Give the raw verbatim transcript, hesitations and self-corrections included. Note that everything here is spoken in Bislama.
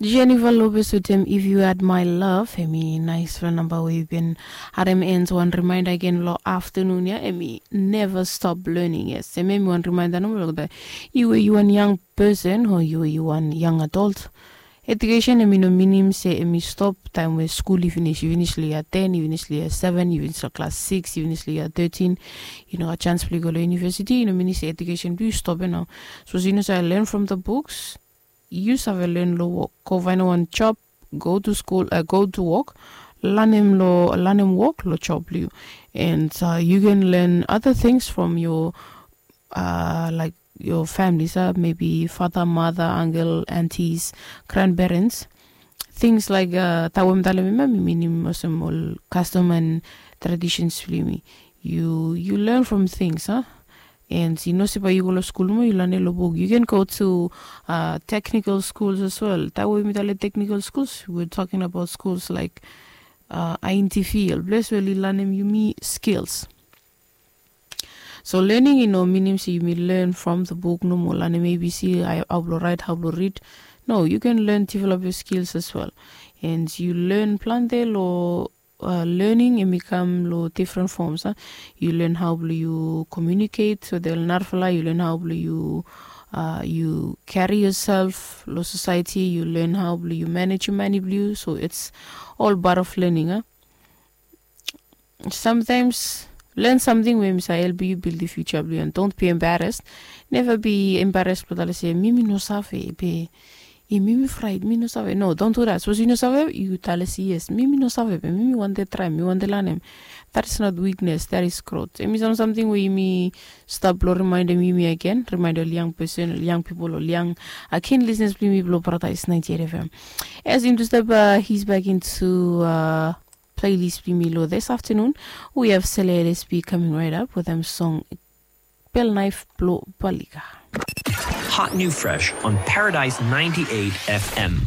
Jennifer Lopez wetem If You Had My Love, em i naispela namba we yu bin harem. Ends wan rimainda gen long aftanun ya, em i Never Stop Learning. Yes, em em i wan rimainda nomo long that yu we yu wan yang person o yu we yu wan yang adult. Edukesen em i no minim se em i stop taem we skul i finis. Yu finis long yia ten, yu finis long yia seven, yu finis long klas six, yu finis long yia thirteen, yu no gat chans blong yu go long yunivesiti, i no minim se edukesen blong yu stop ya nao. Sapos yu no save learn from the books, yu save len long wok. Go faenem wan job, go to skul, go to wok, lanem long lanem wok long job blong yu. And yu can learn other things from your uh, like your families, uh, maybe father, mother, uncle, aunties, grandparents. Things like uh, taem we mi talem ya, mi minim olsem ol custom and traditions blong yumi. You you learn from things, huh? And yu no se bae yu go long skul nomo yu lanem long buk. You can go to uh, technical schools as well. Taem we mi talem technical schools, we're talking about schools like uh, I N T V, ol ples we oli lanem yumi skills. So learning i no minim se yumi learn from the book nomo, lanem A B C, hao blong write, hao blong read. No, you can learn develop your skills as well. And you learn plante long uh, learning em i kam long different forms, huh? You learn hao blong yu communicate with ol narafala, you learn hao blong yu uh, you carry yourself long society, you learn hao blong yu manage yu mani blong yu. So it's all part of learning, huh? Sometimes learn something we mi save help yu build the future blong yu. And don't be embarrassed. Never be embarrassed blong talem se mi mi no save be, e mi mi fraet, mi no save. No, don't do that. Sapos yu no save, yu talem se yes, mi mi no save be mi mi wantem traem, mi wantem lanem. That is not weakness, that is growth. Em i sam samting we yumi stap blong rimaendem yumi agen, rimaendem ol yang person, ol yang pipol, ol yang agen listeners blong yumi blong Paradise ninety-eight F M. As yumi tu step uh, he's back into uh, playlist blong yumi long this afternoon. We have Sele L S B coming right up with them song Pel Naef blong Balika. Hot new fresh on Paradise ninety-eight F M.